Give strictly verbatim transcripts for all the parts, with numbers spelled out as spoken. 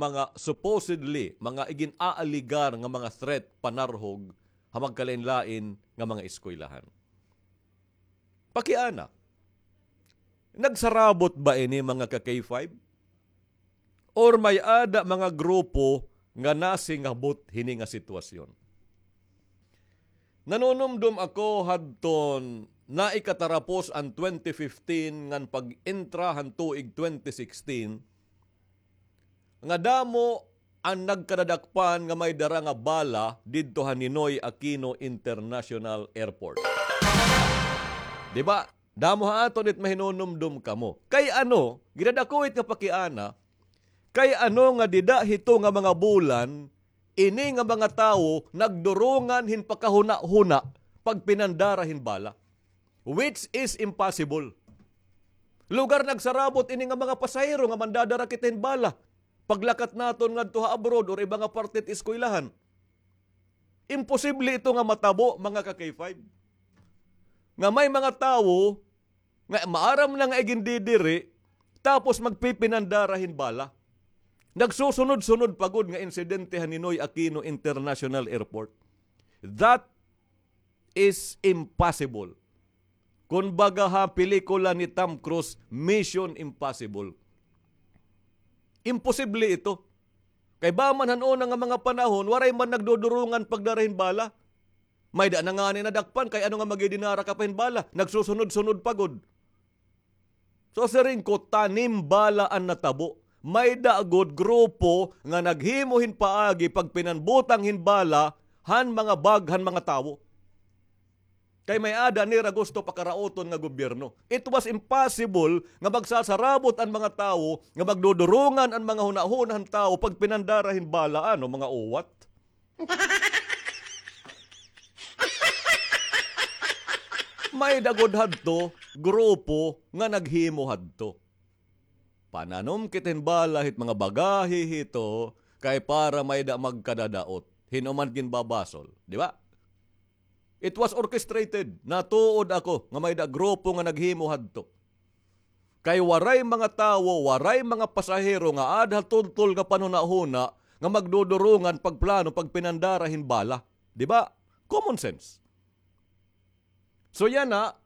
mga supposedly, mga igin-aaligar nga mga threat panarhog ha magkalain-lain nga mga eskwelahan. Pakiana, nagsarabot ba ini, mga ka-K five? Or may-ada mga grupo nga nasingabot hini nga sitwasyon? Nanunumdom ako hadton naikatarapos an twenty fifteen ngan pag-entra han tuig twenty sixteen, nga damo an nagkadadakpan nga may dara nga bala didto ha Ninoy Aquino International Airport. Di ba? Damo ha aton it mahinunumdom kamo. Kay ano, gidadako it nga pakiana, kay ano nga dida hito nga mga bulan, ini nga mga tawo nagdurungan hin pakahuna-huna pagpinandara hin bala. Which is impossible. Lugar nagsarabot ini nga mga pasahero nga mandadara kita hin bala. Paglakat naton ngadto ha abroad or iba nga parte it eskwelahan. Imposible ito nga matabo, mga ka-K five. Nga may mga tawo nga maaram na nga igindidiri, tapos magpipinandara hin bala. Nagsusunod-sunod pa gud nga insidente ha Ninoy Aquino International Airport. That is impossible. Kumbaga ha pelikula ni Tom Cruise, Mission Impossible. Imposible ito. Kay ba man han una nga mga panahon, waray man nagdudurungan pagdara hin bala. May-ada na ngani nadakpan, kay ano nga magidinara ka pa hin bala, nagsusunod-sunod pa gud. So, siring ko, tanim bala an natabo. May-ada gud grupo nga naghimo hin paagi pagpinanbutang hin bala han mga bag han mga tawo. Kay may-ada nira gusto pakarauton nga gobyerno. It was impossible nga magsasarabot an mga tawo, nga magdudurungan an mga hunahuna han tawo pagpinandara hin bala, ano, mga uwat. May-ada gud hadto grupo nga naghimo hadto. Pananom kita hin bala hit mga bagahe hito, kay para may-ada magkadadaot. Hin-o man ginbabasol, di ba? It was orchestrated. Natuod ako nga may-ada grupo nga naghimo hadto. Kay waray mga tawo, waray mga pasahero nga aada ha tultol nga panhunahuna nga magdudurungan pagplano, pagpinandara hin bala. Di ba? Common sense. So yana,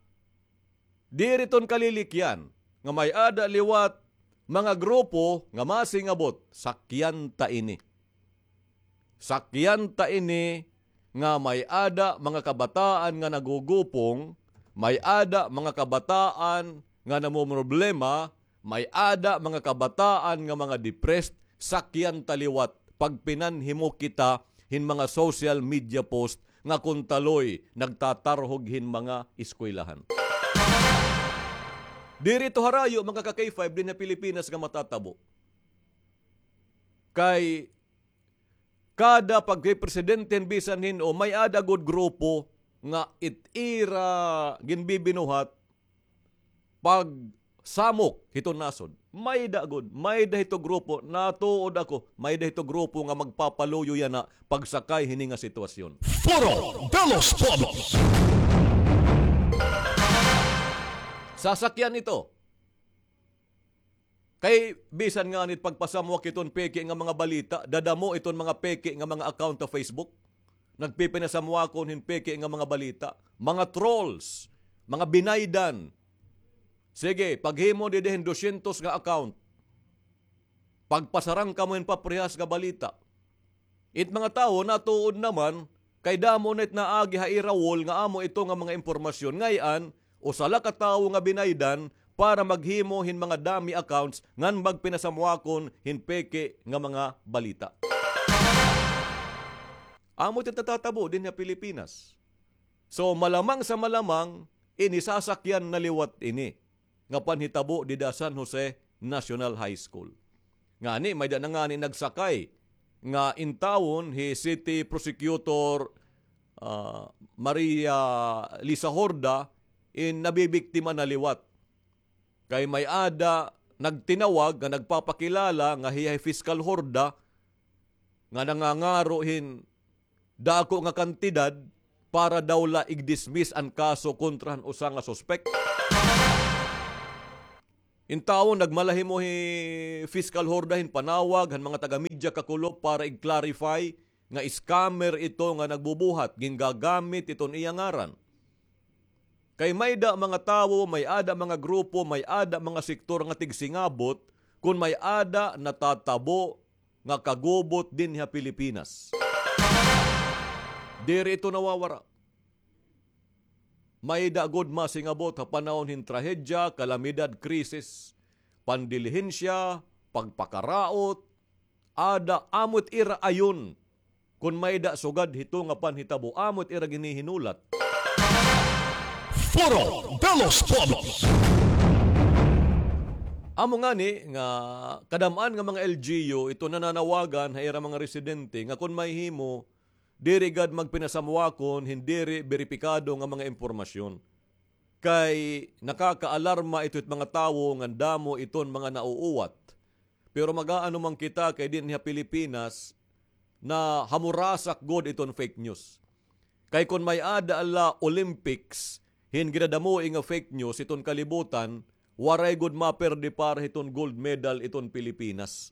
diri ton kalilikyan nga may-ada liwat mga grupo nga masingabot, sakyan ta ini. Sakyan ta ini nga may-ada mga kabataan nga nagugupong, may-ada mga kabataan nga namomroblema, may-ada mga kabataan nga mga depressed, sakyan ta liwat pagpinanhimo kita hin mga social media post nga kuntaloy nagtatarhog hin mga eskwelahan. Diri ito harayo, mga ka-K five, dinhi ha Pilipinas nga matatabo. Kay kada pagpipresidente hin bisan hin-o, may-ada gud grupo nga it ira ginbibinuhat pagsamok hiton nasod. May-ada gud, may-ada hito grupo, natuod ako, may-ada hito grupo nga magpapaluyo yana pagsakay hini nga sitwasyon. Foro de los Pueblos. Sasakyan ito. Kay bisan ngani it pagpasamwak hiton peke nga mga balita, dadamo iton mga peke nga mga account ha Facebook. Nagpipinasamwakon hin peke nga mga balita. Mga trolls, mga binaydan. Sige, paghimo didi hin dosyentos nga account. Pagpasarang kamo hin paprehas nga balita. It mga tawo natuod naman, kay damo na it naagi ha ira wall nga amo ito nga mga impormasyon. Ngay-an, usa la ka tawo nga binaydan para maghimo hin mga dummy accounts ngan magpinasamwakon hin peke nga mga balita. Amo it natatabo dinhi ha Pilipinas. So, malamang sa malamang, ini sasakyan na liwat ini nga panhitabo dida San Jose National High School. Ngani, may-ada na ngani nagsakay nga intawon hi City Prosecutor, ah, Maria Lisa Horda, in nabibiktima na liwat. Kay may-ada nagtinawag nga nagpapakilala nga hiya hi Fiscal Horda nga nangangaro hin dako nga kantidad para daw la igdismiss an kaso kontra han usa nga suspek. In tawo nagmalahimo hi Fiscal Horda hin panawag han mga taga-media kakulop para i-clarify nga scammer ito nga nagbubuhat, gingagamit iton iya ngaran. Kay may-ada mga tawo, may-ada mga grupo, may-ada mga sektor nga tigsingabot kon may-ada natatabo nga kagubot dinhi ha Pilipinas. Diri ito nawawara. May-ada gud masingabot ha panahon hin trahedya, kalamidad, krisis, pandilihensya, pagpakaraot, ada, amo it ira ayon. Kon may-ada sugad hito nga panhitabo, amo it ira ginihinulat. Foro de los Pueblos. Amo ngani nga kadam-an nga mga L G U ito nananawagan ha ira mga residente nga kon mahimo, diri gad magpinasamwakon hin diri beripikado nga mga impormasyon. Kay nakakaalarma ito hit mga tawo ngan damo iton mga nauuwat. Pero mag-aano man kita kay dinhi ha Pilipinas, nahamurasak gud iton fake news. Kay kon may-ada la Olympics hin ginadamoi nga fake news iton kalibutan, waray gud maperde para hiton gold medal iton Pilipinas.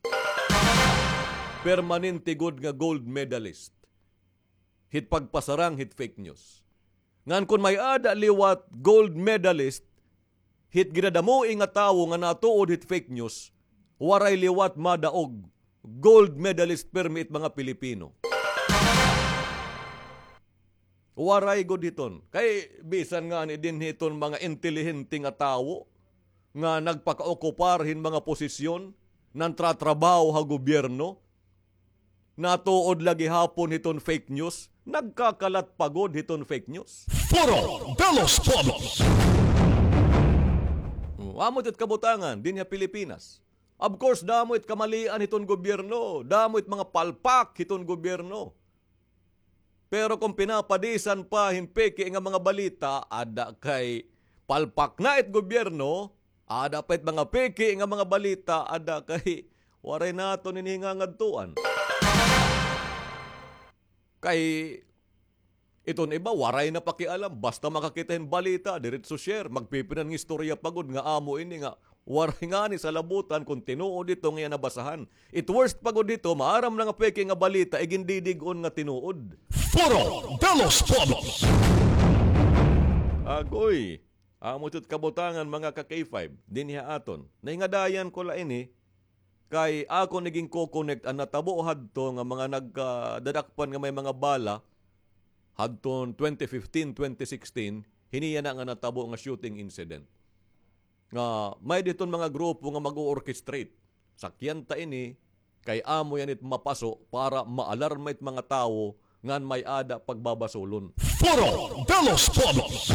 Permanente gud nga gold medalist hit pagpasarang hit fake news. Ngan kon may-ada liwat gold medalist hit ginadamoi nga tawo nga natuod hit fake news, waray liwat madaog gold medalist permi it mga Pilipino. Waray gud hiton. Kay bisan ngani dinhi hiton mga intelihente nga tawo nga nagpakaokupar hin mga posisyon, nantratrabaho ha gobyerno, natuod la gihapon hiton fake news, nagkakalat pa gud hiton fake news. Foro de los Pueblos. Oh, amo it kabutangan dinhi ha Pilipinas. Of course, damo it kamalian hiton gobyerno, damo it mga palpak hiton gobyerno. Pero kon pinapadisan pa hin peke nga mga balita, ada kay palpak na it gobyerno, ada pa it mga peke nga mga balita, ada kay waray naton ini hingangadtuan. Kay iton iba, waray na pakialam, basta makakita hin balita, diretso share, magpipinangistorya pa gud nga amo ini nga waray ngani salabutan kon tinuod ito nga iya nabasahan. It worst pa gud hito, maaram na nga peke nga balita, igindidig-on nga tinuod. Foro de los Pueblos. Agoy, amo it kabutangan, mga ka-K five, dinhi ha aton. Nahingadayan ko la ini, kay akon iginko-connect an natabo hadto nga mga nagkadadakpan nga may mga bala, hadton twenty fifteen, twenty sixteen, hini yana nga natabo nga shooting incident. Nga may-ada hiton mga grupo nga mag-o-orchestrate. Sakyan ta ini, kay amo yana it mapaso para maalarma it mga tawo ngan may-ada pagbabasulon. Foro de los Pueblos.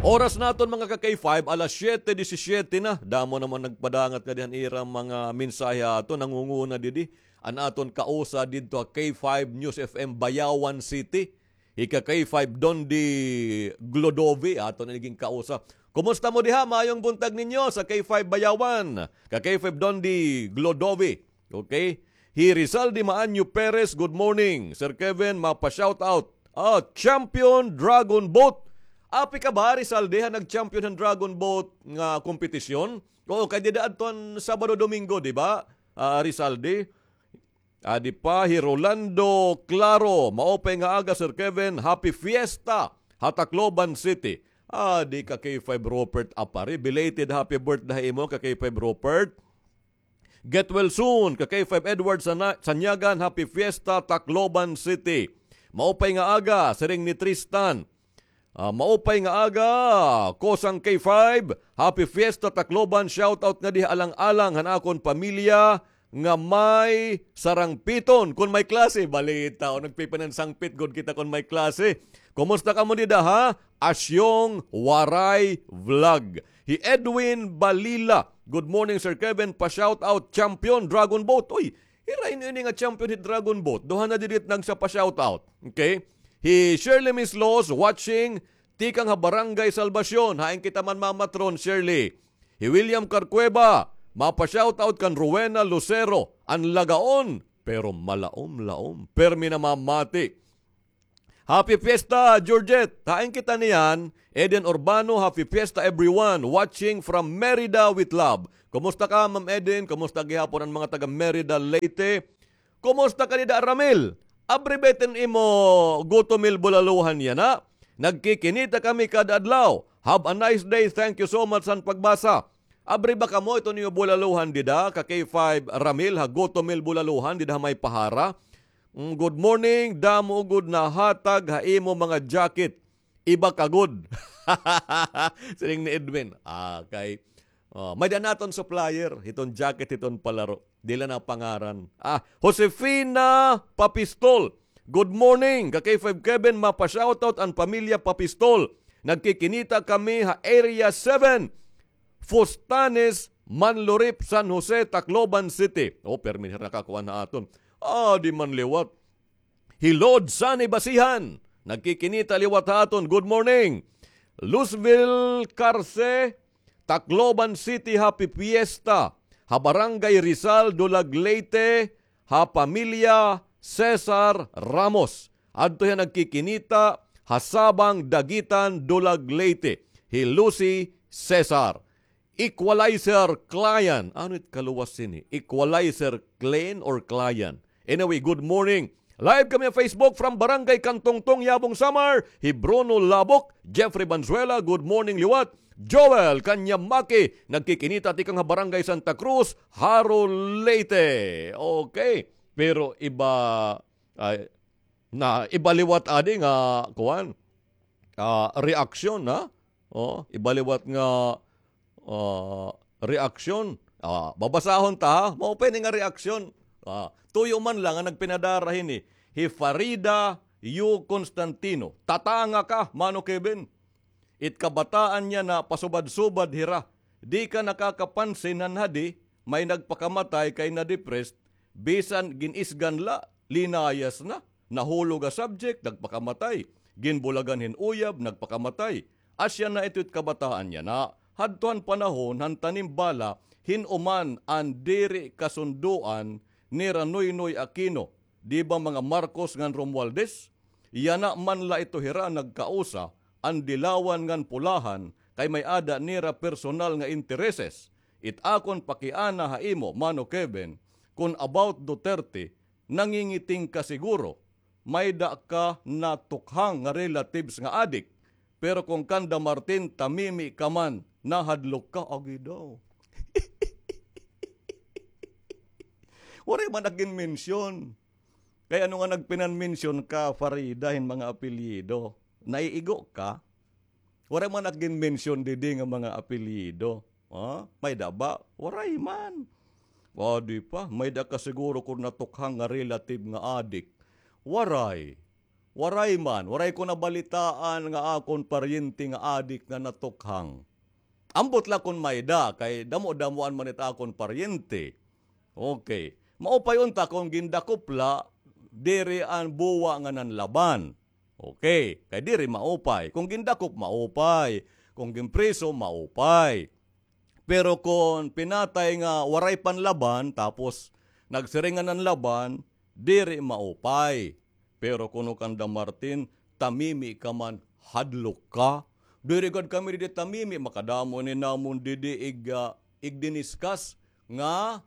Oras naton, mga ka-K five, alas siyete disisiete na. Damo naman nagpadangat ngadi han ira mga mensahe aton, nangunguna didi an aton kausa didto ha K five News F M Bayawan City. Hi ka-K five Dondi Glodovi, aton ini ginkausa. Kumusta mo diha? Maayong buntag ninyo sa K five Bayawan. Ka-K five Dondi Glodovi. Okay? Hi Rizaldi Maanyo Perez, good morning. Sir Kevin, mapa-shoutout. Ah, champion Dragon Boat. Api ka ba, Rizaldi, ha nag-champion han Dragon Boat nga kompetisyon? Oo, kay dida adton Sabado, Domingo, di ba? Ah, Rizaldi. Adi pa hi Rolando Claro, maupay nga aga, Sir Kevin, happy fiesta ha Tacloban City. Adi ka K five Robert Apari, belated happy birthday ha imo ka K five Robert. Get well soon ka K five Edward Sana-, Sanyagan, happy fiesta Tacloban City. Maupay nga aga, siring ni Tristan. Ah, maupay nga aga, Kosang K five. Happy Fiesta Tacloban. Shoutout ngadi ha alang-alang han akon pamilya nga may sarangpiton kon may klase. Balita, o, nagpipinansangpit gud kita kon may klase. Kumusta kamo dida, ha? Asyong Waray Vlog. Hi Edwin Balila. Good morning, Sir Kevin. Pa-shoutout, champion, Dragon Boat. Uy, hira ini nga champion hit Dragon Boat. Duha na didi it nagsa pa-shoutout. Okay? Hi Shirley Mislos watching, tikang ha Barangay Salvacion. Hain kita man mamatron, Shirley? Hi William Carcueva, mapa-shoutout kan Rowena Lucero, an lagaon, pero malaom-laom. Permi namamati. Happy Fiesta, Georgette. Hain kita niyan, Eden Urbano, happy Fiesta everyone. Watching from Merida with love. Kumusta ka, Ma'am Eden? Kumusta gihapon an mga taga Merida, Leyte? Kumusta ka dida, Ramil? Abri ba iton imo gutomil bulaluhan yana? Nagkikinita kami kada adlaw. Have a nice day. Thank you so much han pagbasa. Abri ba kamo iton iyo bulaluhan dida, ka K five Ramil, ha gutomil bulaluhan dida ha may pahara? Mm, good morning, damo gud nahatag ha imo mga jacket. Iba ka gud. Siring ni Edwin. Ah, kay, oh, may-ada naton supplier, hiton jacket, hiton palaro. Diri la napangaran. Ah, Josefina Papistol. Good morning, ka K five Kevin, mapa-shoutout an pamilya Papistol. Nagkikinita kami ha Area seven. Fustanes, Manlurip, San Jose, Tacloban City. Oh, permi nakakuan ha aton. Ah, di man liwat. Hilod Sani Basihan. Nagkikinita liwat ha aton. Good morning. Luzville Carce, Tacloban City, happy fiesta. Ha Barangay Rizal, Dulag, Leyte, ha pamilya Cesar Ramos. Adto hiya nagkikinita ha Sabang, Daguitan, Dulag, Leyte. Hi Lucy Cesar. Equalizer Client. Ano it kaluwas sini? Equalizer Clean or Client? Anyway, good morning. Live kami ha Facebook from Barangay Cantongtong, Yabong, Samar. Hi Bruno Labok, Jeffrey Banzuela, good morning liwat. Joel Kanyamaki, nagkikinita tikang ha Barangay Santa Cruz, Jaro, Leyte. Okay. Pero iba, ay, na, iba liwat adi nga, kuan, ah, reaksyon, ha? Oh, iba liwat nga, ah, reaksyon. Ah, babasahon ta, ha? Maupay ini nga reaksyon. Ah, tuyo man la nga nagpinadara hini. Hi Farida Yu Constantino. Tatanga ka, Mano Kevin. It kabataan yana pasubad-subad hira. Di ka nakakapansin han hadi, may nagpakamatay kay na-depressed, bisan gin-isgan la, linayas na, nahulog ha subject, nagpakamatay. Ginbulagan hin uyab, nagpakamatay. Asya na ito it kabataan yana, hadto han panahon han tanim bala, hin-o man an diri kasundoan nira Noynoy Aquino, di ba mga Marcos ngan Romualdez? Yana man la ito hira nagkausa, an dilawan ngan pulahan, kay may-ada nira personal nga intereses. It akon pakiana ha imo, Mano Kevin, kon about Duterte, nangingiting ka siguro, may-ada ka natukhang nga relatives nga adik, pero kon kanda Martin, tamimi ka man, nahadlok ka, agi daw. Waray man ak ginmensyon. Kay ano nga nagpinan-mention ka, Farida, hin mga apelyido? Naiigo ka? Waray man ak ginmensyon didi nga mga apelyido. Ha? May-ada ba? Waray man. O, di pa. May-ada ka siguro kon natukhang nga relative nga adik. Waray. Waray man. Waray ko nabalitaan nga akon paryente nga adik nga natukhang. Ambot la kon may-ada, kay damo-damoan man it akon paryente. Okay. Maupay unta kon gindakop la, diri an buwa nga nanlaban. Okay. Kay diri maupay. Kon gindakop, maupay. Kon ginpriso, maupay. Pero kon pinatay nga waray panlaban, tapos nagsiring nga nanlaban, diri maupay. Pero kuno kanda Martin, tamimi ka man, hadlok ka. Diri gad kami didi tamimi, makadamo ini namon didi ig, ah, igdiniskas nga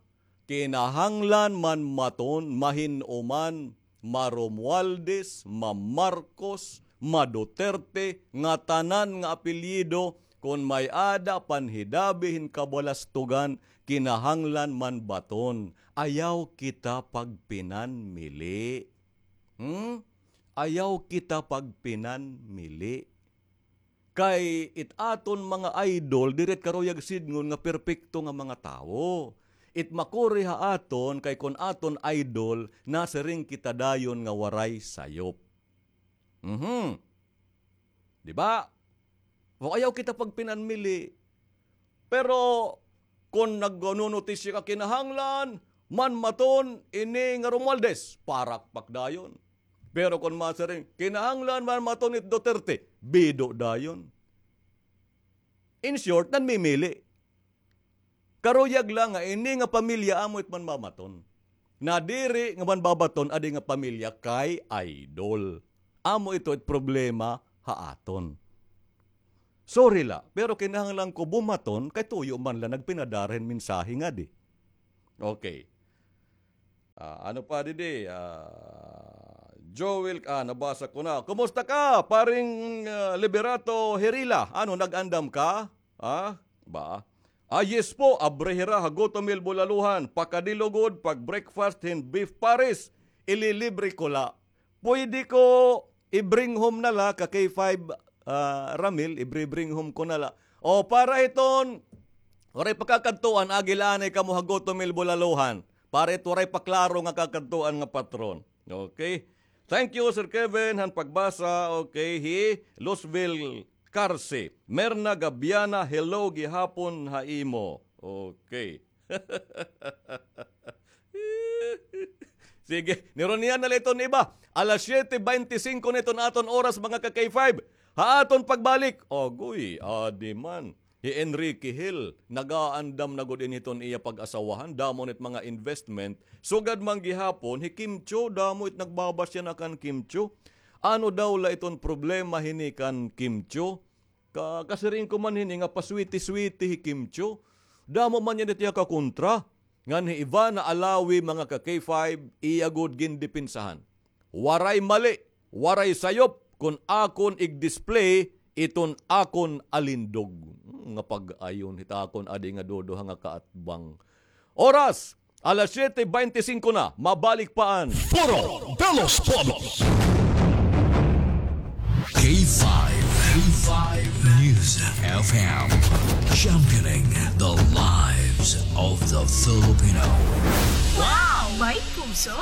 kinahanglan man maton, mahin-o man, ma-Romualdez, ma-Marcos, ma-Duterte, ngatanan nga apelyido, kon may-ada panhidabi hin kabalastogan, kinahanglan man baton. Ayaw kita pagpinanmili. Hmm? Ayaw kita pagpinanmili. Kay it aton mga idol, diri it karuyag sidngon nga perpekto nga mga tawo. It makuri ha aton, kay kon aton idol, nasiring kita dayon nga waray sayop. Mhm. Di ba? O, ayaw kita pagpinanmili. Pero kon nagnonotisya ka, kinahanglan man maton ini nga Romualdez, parakpak dayon. Pero kon masiring, kinahanglan man maton it Duterte, bido dayon. In short, nanmimili. Karuyag la nga ini nga pamilya amo it manmamaton. Nadiri nga manbabaton adi nga pamilya kay idol. Amo ito it problema ha aton. Sorry la, pero kinahanglan ko bumaton kay tuyo man la nagpinadara hin mensahe ngadi. Okay. Ah, ano pa didi? Ah, Joel, ah, nabasa ko na. Kumusta ka, paring, ah, Liberato Herila? Ano, nag-andam ka? Ah, ba? Ah, yes po, abri hira ha Gotomil Bulaluhan. Pakadi lugod, pag-breakfast hin beef pares, ililibre ko la. Pwede ko i-bring home na la ka K five, ah, Ramil, i-bring home ko na la. O, para hiton, waray pa kakadtuan, agi la anay kamo ha Gotomil Bulaluhan. Para it waray pa klaro nga kakadtuan nga patron. Okay? Thank you, Sir Kevin, han pagbasa. Okay, hi Luzville Carse. Merna Gabiana, hello gihapon ha imo. Okay. Sige, nirunian na la iton iba. Alas siyete bente singko na iton aton oras, mga ka-K five. Ha aton pagbalik, agoy, adi man. Hi Enrique Hill, nagaandam na gud ini hiton iya pag-asawahan, damo nit mga investment. Sugad man gihapon, hi Kim Chiu, damo it nagbabasya na kan Kim Chiu. Ano daw la iton problema hini kan Kim Chiu? Ka, kasiring ko man hini nga paswiti-switi hi Kim Chiu. Damo man yana it iya kakontra. Ngan hi Ivana Alawi, mga ka-K five, iya gud gindepensahan. Waray mali, waray sayop kon akon ig-display iton akon alindog. Hmm, nga pag-ayon hit akon adi nga duduha nga kaatbang. Oras, alas siyete bente singko na, mabalik pa an Foro de los Pueblos. K five, K five News F M, championing the lives of the Filipino. Wow, may puso!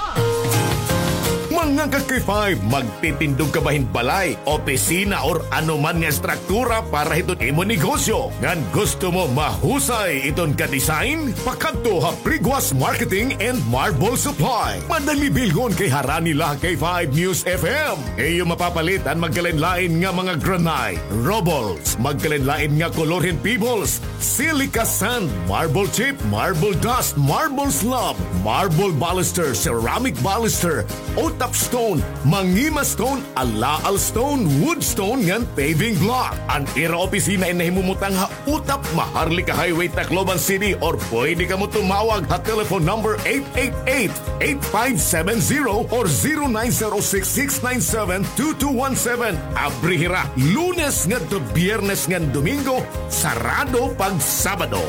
Mga ka-K five, magtitindog ka ba hin balay, opisina, or ano man nga estruktura para hiton imo negosyo? Ngan gusto mo mahusay iton ka-design? Pakadto ha Priguas Marketing and Marble Supply. Madali bilhon kay harani la ha K five News F M. Iyo mapapalit an magkalain-lain nga mga granite, rubbles, magkalain-lain nga kolor hin pebbles, silica sand, marble chip, marble dust, marble slab, marble baluster, ceramic baluster, utap stone, mangima stone, alaal stone, wood stone, ngan paving block. An ira opisina in nahimumutang ha Utap, Maharlika Highway, Tacloban City, or pwede kamo tumawag ha telephone number eight eight eight, eight five seven zero or zero nine zero six, six nine seven, two two one seven. Abri hira Lunes ngadto Biyernes ngan Domingo, sarado pag Sabado.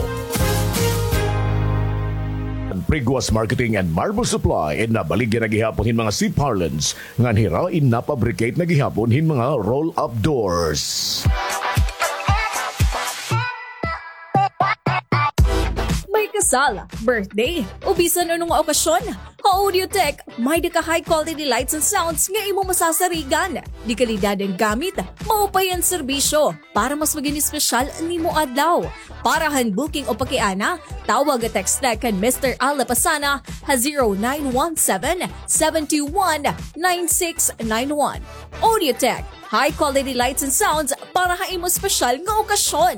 An Priguas Marketing and Marble Supply in nabaligya na gihapon hin mga C-parlance ngan hira in napabricate na gihapon hin mga roll-up doors. May kasal, birthday, o bisan ano nga okasyon, ha Audiotech, may-ada ka high quality lights and sounds nga imo masasarigan. Dekalidad an gamit, maupay an serbisyo. Para mas magin espesyal an imo adlaw. Para han booking o pakiana, tawag o text la kan Mister Al Lapasana ha zero nine one seven, seven two one, nine six nine one. Audiotech, high quality lights and sounds para ha imo espesyal nga okasyon.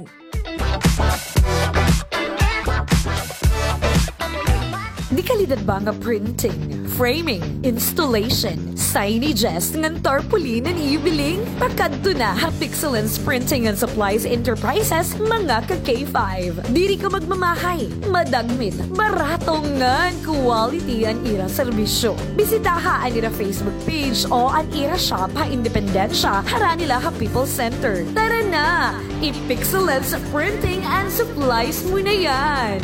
Dekalidad ba nga printing, framing, installation, signages, ngan tarpaulin an iyo biling? Pakadto na ha Pixelens Printing and Supplies Enterprises, mga ka-K five. Diri ka magmamahay, madagmit, barato ngan quality an ira serbisyo. Bisitaha an ira Facebook page o an ira shop ha Independencia, harani la ha People's Center. Tara na! I-Pixelens Printing and Supplies mo na yan!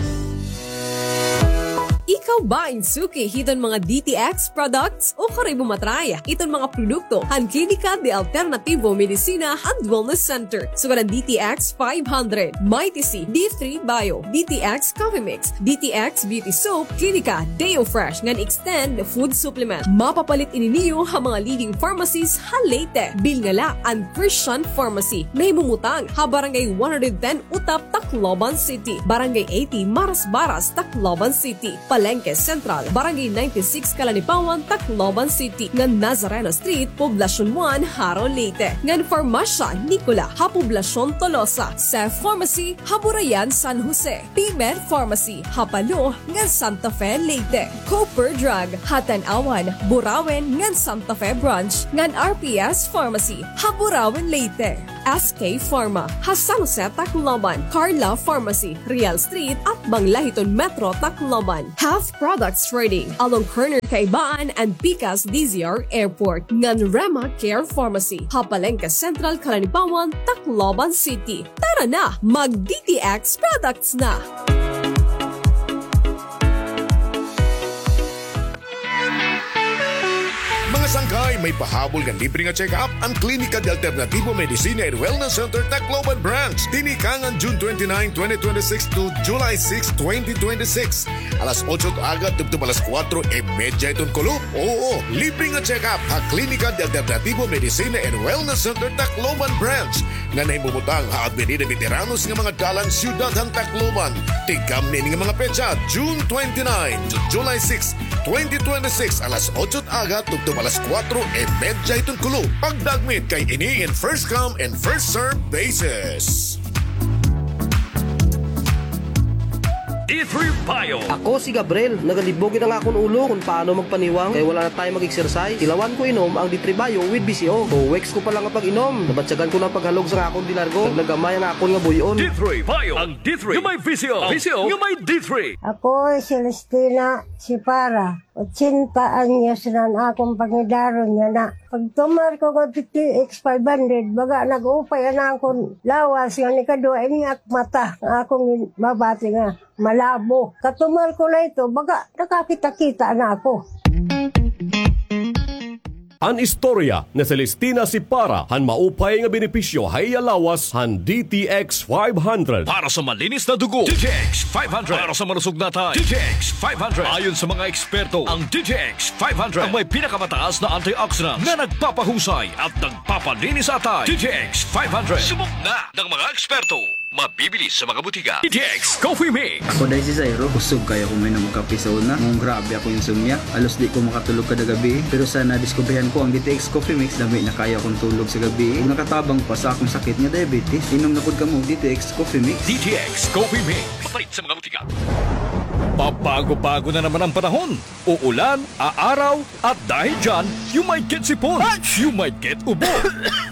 Ikaw ba in suki hiton mga D T X products? Ukon kay bumatray hiton mga produkto han Klinika de Alternativo Medicina and Wellness Center. Sugad an D T X five hundred, Mighty C, D three Bio, D T X Coffee Mix, D T X Beauty Soap, Klinika Deo Fresh ngan Extend Food Supplement. Mapapalit ini niyo ha mga leading pharmacies ha Leyte. Bilnga la an Christian Pharmacy. Nahimumutang ha Barangay one hundred ten Utap, Tacloban City. Barangay eighty Marasbaras, Tacloban City. Palengke Palengke Central, Barangay ninety-six, Calanipawan, Tacloban City, ngan Nazareno Street, Poblacion one, Jaro, Leyte, ngan Farmacia Nicola ha Poblacion Tolosa, Cef Pharmacy ha Burayan, San Jose, Pimer Pharmacy ha Palo ngan Santa Fe, Leyte, Cooper Drug ha Tanauan, Burauen ngan Santa Fe Branch, ngan R P S Pharmacy ha Burauen, Leyte, S K Pharma ha San Jose, Tacloban, Carla Pharmacy, Real Street, atbang la hiton Metro Tacloban, Health Products Trading along corner Kaibaan and Pikas D Z R Airport, ngan Rema Care Pharmacy ha Palengke Central, Calanipawan, Tacloban City. Tara na, mag D T X products na! Mga sangkay, may pahabol nga libre nga check-up an Klinika de Alternativo Medicina and Wellness Center Tacloban Branch. Dinhi kangan June twenty-nine, twenty twenty-six to July six, twenty twenty-six. Alas otso it aga tubtob alas kuwatro y medya hiton kulop. Oo, libre nga check-up ha Klinika de Alternativo Medicina and Wellness Center Tacloban Branch, nga nahimumutang ha Avenida Veteranos nga mga dalan, siyudad han Tacloban. Tigkamni ini nga mga petsa, June twenty-nine to July six, twenty twenty-six, alas otso it aga tubtob alas kuwatro y medya hiton kulop. Pagdagmit kay ini in first come and first serve basis. D three Bio. Ako si Gabriel. Nagalibog gid an akon ulo kon paano magpaniwang kay wala na time mag-exercise. Tilawan ko inom ang D three Bio with V C O. Two weeks ko pa la nga pag-inom, nabatyagan ko na an paghalog sa akon dinargo. Nagnagamay ang akon nga buy-on. D three Bio. Ang D three nga may V C O. V C O nga may D three. Ako si Celestina Sipara. Ochenta anyos na an akon pangidaron yana. Pagtumar ko nga D T X five hundred, baga nag-upay an akon lawas, nga nikaduha ini ak mata, nga akon mabati nga malabo. Katumar ko na ito, baga nakakita-kita na ako. An istorya ni Celestina Sipara han maupay nga benepisyo ha iya lawas han D T X five hundred. Para sa malinis na dugo, D T X five hundred. Para sa malusog na atay, D T X five hundred. Ayon sa mga eksperto, ang D T X five hundred ang may pinakamataas na antioxidant na nagpapahusay at nagpapalinis sa atay. D T X five hundred. Subok na ng mga eksperto. Mabibili sa mga butika. D T X Coffee Mix. Ako day si Zairo, kusog kaayo akon mainom og kape sa una. Ngan grabe akon insomnia. Halos di ko makatulog kada gabii. Pero sa nadiskubrihan ko ang D T X Coffee Mix, lami na kaayo akon tulog sa gabii. Ug nakatabang pa sa akon sakit nga diabetes. Inom na pod kamo og D T X Coffee Mix. D T X Coffee Mix. Mapalit sa mga butika. Pabago-bago na naman ang panahon. Uulan, aaraw, at dahil dyan, you might get sipon, you might get ubo,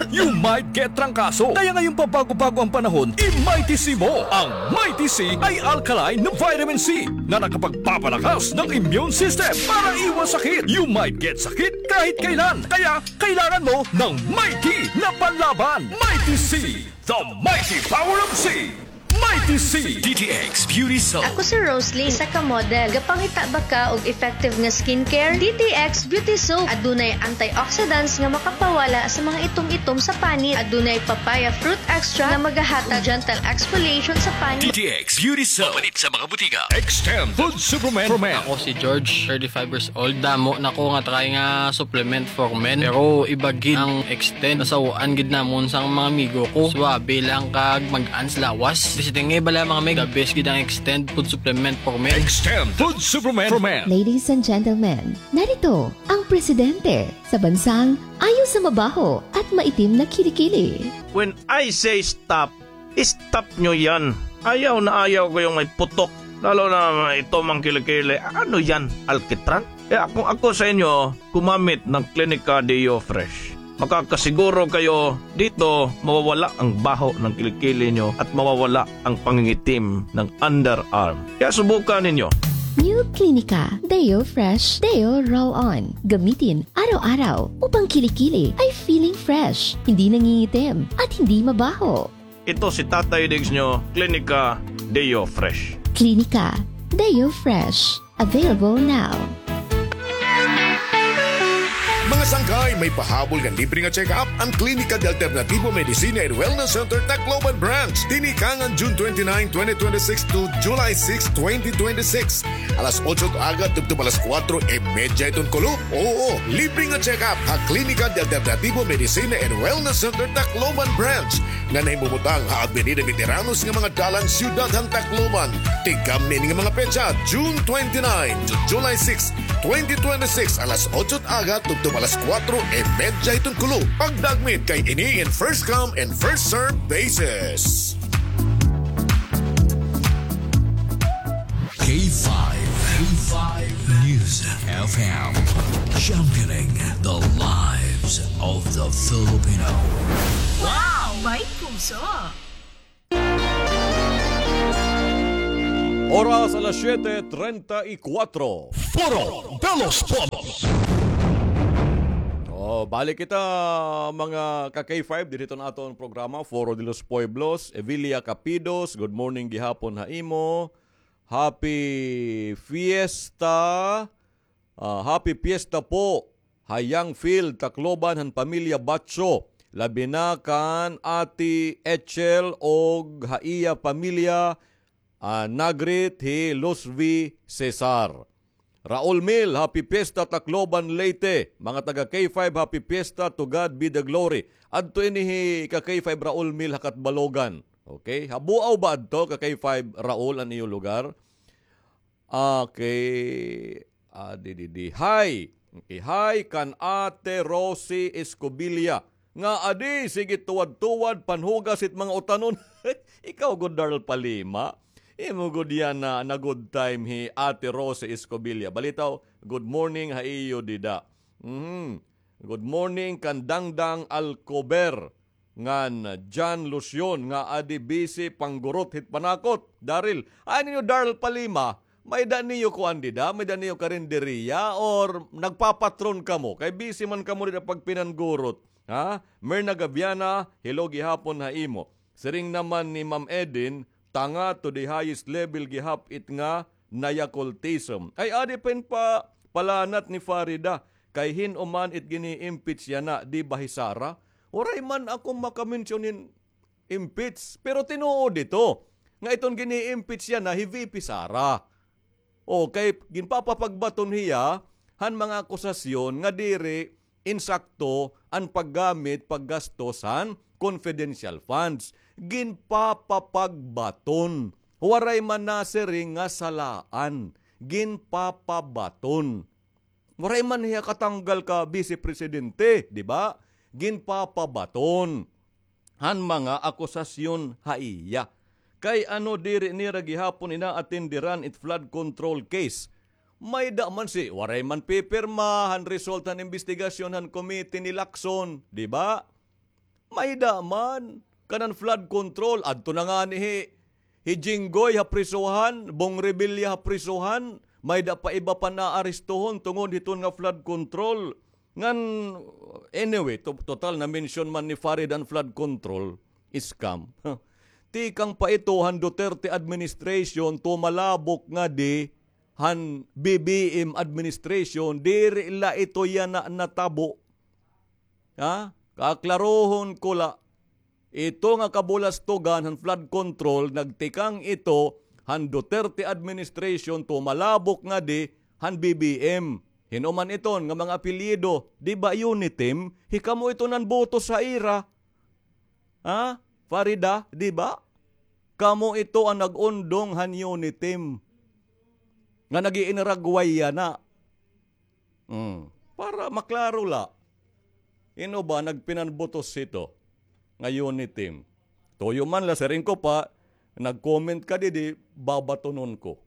you might get trangkaso. Kaya ngayong pabago-bago ang panahon, i-Mighty C mo. Ang Mighty C ay alkaline na vitamin C na nakapagpapalakas ng immune system para iwas sakit. You might get sakit kahit kailan. Kaya kailangan mo ng Mighty na panlaban. Mighty C, the mighty power of C. Mighty C. D T X Beauty Soap. Ako si Roslyn, isa ka model. Gapangita ba ka og effective nga skincare? D T X Beauty Soap. Adunay antioxidants nga makapawala sa mga itom-itom sa panit. Adunay papaya fruit extract nga magahatag gentle exfoliation sa panit. D T X Beauty Soap. Mapalit sa mga butika. Extend Food Supplement for Men. Ako si George, thirty-five years old. Damo na ko nga try nga supplement for men. Pero iba gid ang Extend. Nasaw-an gid namon sang mga amigo ko. Suwabe lang kag mag-an sa lawas. Bisiting nga bala, mga mig. The best gid ang Extend Food Supplement for Men. Extend Food Supplement for Men. Ladies and gentlemen, narito ang presidente sa bansang ayaw sa mabaho at maitim na kilikili. When I say stop, stop nyo yan. Ayaw na ayaw ko yung may putok. Lalo na may itom ang kilikili. Ano yan? Alkitran? Kaya kung ako sa inyo, gumamit ng Clinica Deo Fresh. Makakasiguro kayo dito mawawala ang baho ng kilikili nyo at mawawala ang pangingitim ng underarm. Kaya subukan ninyo. New Clinica Deo Fresh Deo Roll-On. Gamitin araw-araw upang kilikili ay feeling fresh, hindi nangingitim, at hindi mabaho. Ito si Tatay Diggs nyo, Clinica Deo Fresh. Clinica Deo Fresh. Available now. Mga Sangkay, may pahabol nga libre nga check-up an Klinika de Alternativo Medicina and Wellness Center Tacloban Branch. Tinikangan June twenty-nine, twenty twenty-six to July six, twenty twenty-six. Alas otso it aga tubtob alas kuwatro y medya hiton kulop. Oo, libre nga check-up ha Klinika de Alternativo Medicina and Wellness Center Tacloban Branch nga nahimumutang ha Avenida Veteranos nga mga dalan, siyudad han Tacloban. Tikang niini nga mga petsa, June twenty-nine to July six, twenty twenty-six, alas otso aga tubtob alas kuwatro y medya hiton kulop. Pagdagmit kay ini in first come and first serve basis. K five, K five News F M, championing the lives of the Filipino. Wow! May puso! Oras alas siyete treinta y cuatro. Foro de los Pueblos. Oh, balik kita, mga ka-K five, diri hiton aton programa, Foro de los Pueblos. Evilia Capidos, good morning gihapon ha imo. Happy Fiesta. Ah, happy Fiesta po ha Young Field, Tacloban, han pamilya Batso. Labi na kan Ate Echel og ha iya pamilya, ah, nagreet hi Luzvi Cesar. Raul Mil, happy Fiesta, Tacloban, Leyte. Mga taga K five, happy Fiesta, to God be the glory. Adto ini hi ka K five Raul Mil ha Catbalogan. Okay? Ha Buao ba adto, ka K five Raul, an iyo lugar? Okay. Ah, di, di, di. Hi. Okay, hi kan Ate Rosie Escobilla. Nga adi, sige tuwad-tuwad, panhugas it mga utanon. Ikaw gud, Darl Palima. Imo gud yana na good time hi Ate Rosie Escobilla. Balitaw, good morning ha iyo dida. Mhm. Good morning kan Dangdang Alcover. Ngan John Lucion nga adi busy panggurot hit panakot. Daril, ay ninyo Darl Palima, may-ada niyo kuan dida, may-ada niyo karinderiya or nagpapatron kamo? Kay busy man kamo dida pagpinanggurot. Ha? Merna Gaviana, hello gihapon ha imo. Siring naman ni Ma'am Edin, tanga to the highest level gihap it nga Naya cultism. Ay, adi pa hin pa palanat ni Farida, kay hin-o man it gini-impeach yana, di ba hi Sara? Waray man ako maka-mention hin impeach, pero tinuod ito nga iton gini-impeach yana hi V P Sara. O, kay ginpapapagbaton hiya han mga akusasyon nga diri insakto an paggamit, paggastos han confidential funds. Ginpapapagbaton. Waray man nasiring nga salaan. Ginpapabaton. Waray man hiya katanggal ka bise presidente, di ba? Ginpapabaton han mga akusasyon ha iya. Kay ano diri nira gihapon inaatenderan it flood control case? May-ada man si, waray man pipirma han result han imbestigasyon han komite ni Lacson, di ba? May-ada man, kanan flood control, adto na ngani hi, hi Jinggoy ha prisuhan, Bong Revilla ha prisuhan, may-ada pa iba pa naarestohon tungod hiton nga flood control. Ngan, anyway, to-, total na-mention man ni Farid an flood control scam. Tikang pa ito han Duterte administration, tumalabok ngadi han B B M administration, diri la ito yana natabo. Ha? Kaklarohon ko la, ito nga kabulastogan han flood control, nagtikang ito han Duterte administration, tumalabok ngadi han B B M. Hin-o man iton nga mga apelyido, di ba Unitim? Hikamo ito nanboto sa ira. Ha? Farida, di ba? Kamo ito an nag-undong han Unitim nga nag-iinragway yana. Mm. Para maklaro la. Hin-o ba nagpinanbotos hito nga Unitim? Tuyo man la, siring ko pa, nag-comment ka didi, babatonon ko.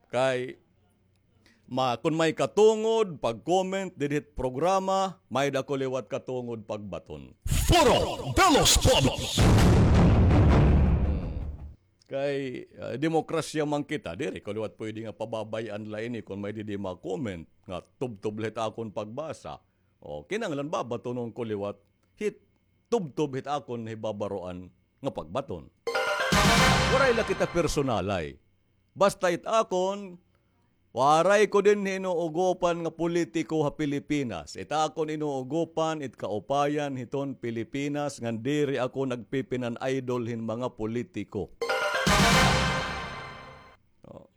Kay, ma-, kon may katungod pag-comment didi hit programa, may-ada ko liwat katungod pagbaton. Foro de los Pueblos. Hmm. Kay, ah, demokrasya man kita, diri ko liwat pwede nga pababay-an la ini kon may didi ma-comment nga tubtob la hit akon pagbasa. O, kinahanglan babatonon ko liwat hit tubtob hit akon hibabaroan nga pagbaton. Waray la kita personalay. Basta it akon, Waray ko dinhi inuugopan nga politiko ha Pilipinas. It akon inuugopan, it kaupayan hiton Pilipinas, ngan diri ako nagpipinan-idol hin mga politiko. Oh.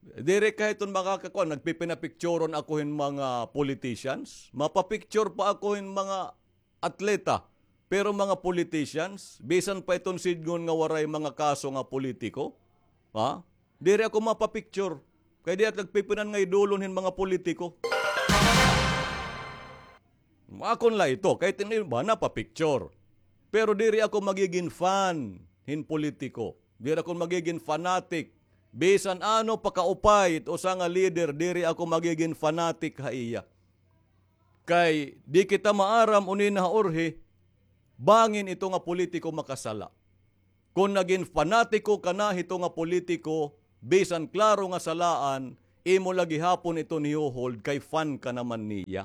Diri ka hiton makakakuan, nagpipinapicturon ako hin mga politicians. Mapapicture pa ako hin mga atleta. Pero mga politicians, bisan pa iton sidngon nga waray mga kaso nga politiko, ha? Diri ako mapapicture. Kay di ako nagpipinan-idolon hin mga politiko. Akon la ito, kay it iba napapicture. Pero diri ako magigin fan hin politiko. Diri ako magigin fanatic. Bisan ano pa kaupay it usa nga leader, diri ako magigin fanatic ha iya. Kay di kita maaram uni na ha urhi, bangin ito nga politiko makasala. Kon nagin fanatiko ka na hito nga politiko, bisan klaro nga salaan, imo la gihapon iton hiho-hold kay fan ka naman niya.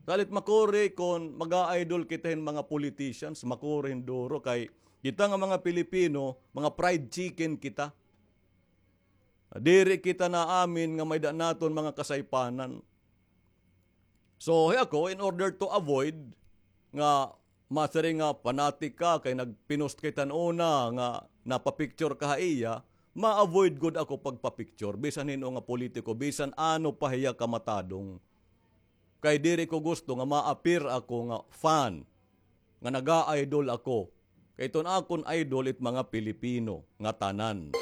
Salit makuri kon mag-a-idol kita hin mga politicians, makuri hin duro kay kita nga mga Pilipino, mga fried chicken kita. Diri kita naamin nga may-ada naton mga kasaypanan. So, hi ako, in order to avoid nga masiring nga fanatic ka, kay nagpinost ka hiton una nga napapicture ka ha iya, ma-avoid gud ako pagpapicture, bisan hin-o nga politiko, bisan ano pa hiya kamatadong. Kay diri ko gusto nga ma-appear ako nga fan, nga naga-idol ako. Kay iton akon idol it mga Pilipino nga tanan.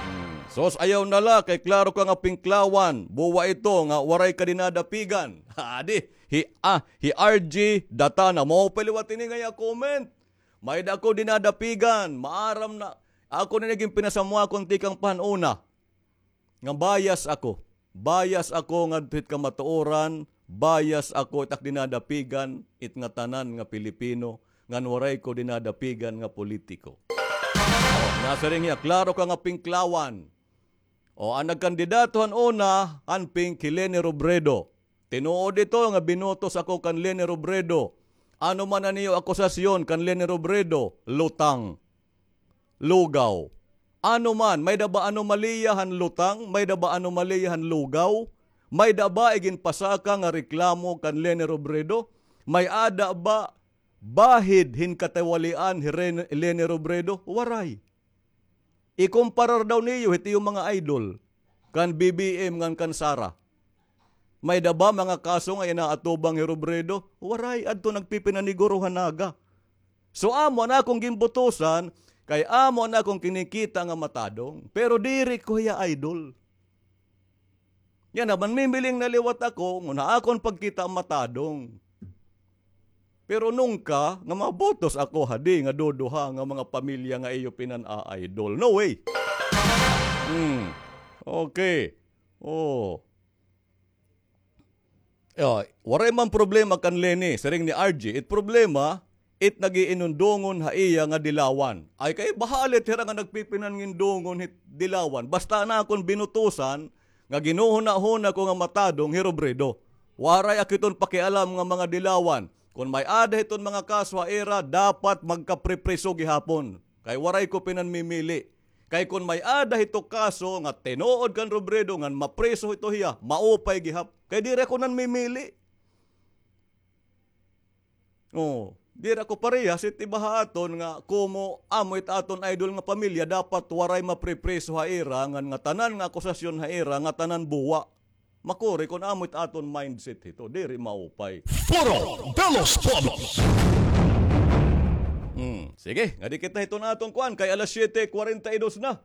Hmm. Sos, ayaw na la, kay klaro ka nga pinklawan. Buwa ito nga waray ka dinadapigan. Adi, hi, ah, hi R G Datana. Maupay liwat ini nga iya comment. May-ada ako dinadapigan. Maaram na. Ako na nagin pinasamuakon tikang pa han una. Nga bias ako. Bias ako ngadto hit kamatuoran, bias ako it ak dinadapigan, it ngatanan nga Pilipino, ngan waray ko dinadapigan nga politiko. O, nasiring hiya, klaro ka nga pinklawan. O, an nagkandidato han una, han pink hi Leni Robredo. Tinuod ito nga binutos ako kan Leni Robredo. Ano man an iyo akusasyon kan Leni Robredo? Lutang. Lugaw. Ano man, may-ada ba anomalya han lutang? May-ada ba anomalya han lugaw? May-ada ba iginpasaka nga reklamo kan Leni Robredo? May-ada ba bahid hin katiwalian hi Ren-, Leni Robredo? Waray. Ikumparar daw niyo hit iyo mga idol, kan B B M ngan kan Sara. May-ada ba mga kaso nga inaatubang hi Robredo? Waray, adto nagpipinaniguro ha Naga. So, amo an akon ginbutusan, kay amo an akon kinikita nga matadong. Pero diri ko hiya idol. Yana, manmimiling na liwat ako, ngan ha akon pagkita matadong. Pero nungka nga mabutos ako hadi nga duduha nga mga pamilya nga iyo pinan-a-idol. No way. Hmm. Okay. Oh. Ah, waray man problema kan Leni, siring ni R G. It problema, it nag-iinundungon ha iya nga dilawan. Ay kay bahalit hira nga nagpipinanindungon hit dilawan. Basta an akon binutusan, nga ginhuhunahuna ko nga matadong hi Robredo. Waray ak hiton pakialam nga mga dilawan. Kon may-ada hiton mga kaso ha ira, dapat magkapripriso gihapon. Kay waray ko pinanmimili. Kay kon may-ada hito kaso nga tinuod kan Robredo ngan mapriso hito hiya, maupay gihap. Kay diri ako nanmimili. Oh, diri ako parehas hit iba ha aton nga komo amo it aton idol nga pamilya, dapat waray mapripriso ha ira, ngan ngatanan nga akusasyon ha ira, ngatanan buwa. Makuri kon amo it aton mindset hito, diri maupay. Foro de los Pueblos. Hmm, sige, ngadi kita hiton aton kuan, kay alas siyete kwarenta y dos na.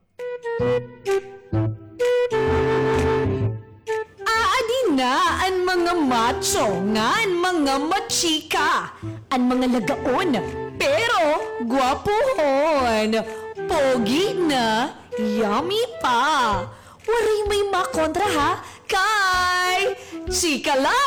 Aadi na an mga macho ngan mga machika, an mga lagaon, pero gwapohon, pogi na, yummy pa. Waray may makontra, ha? Kay chika la!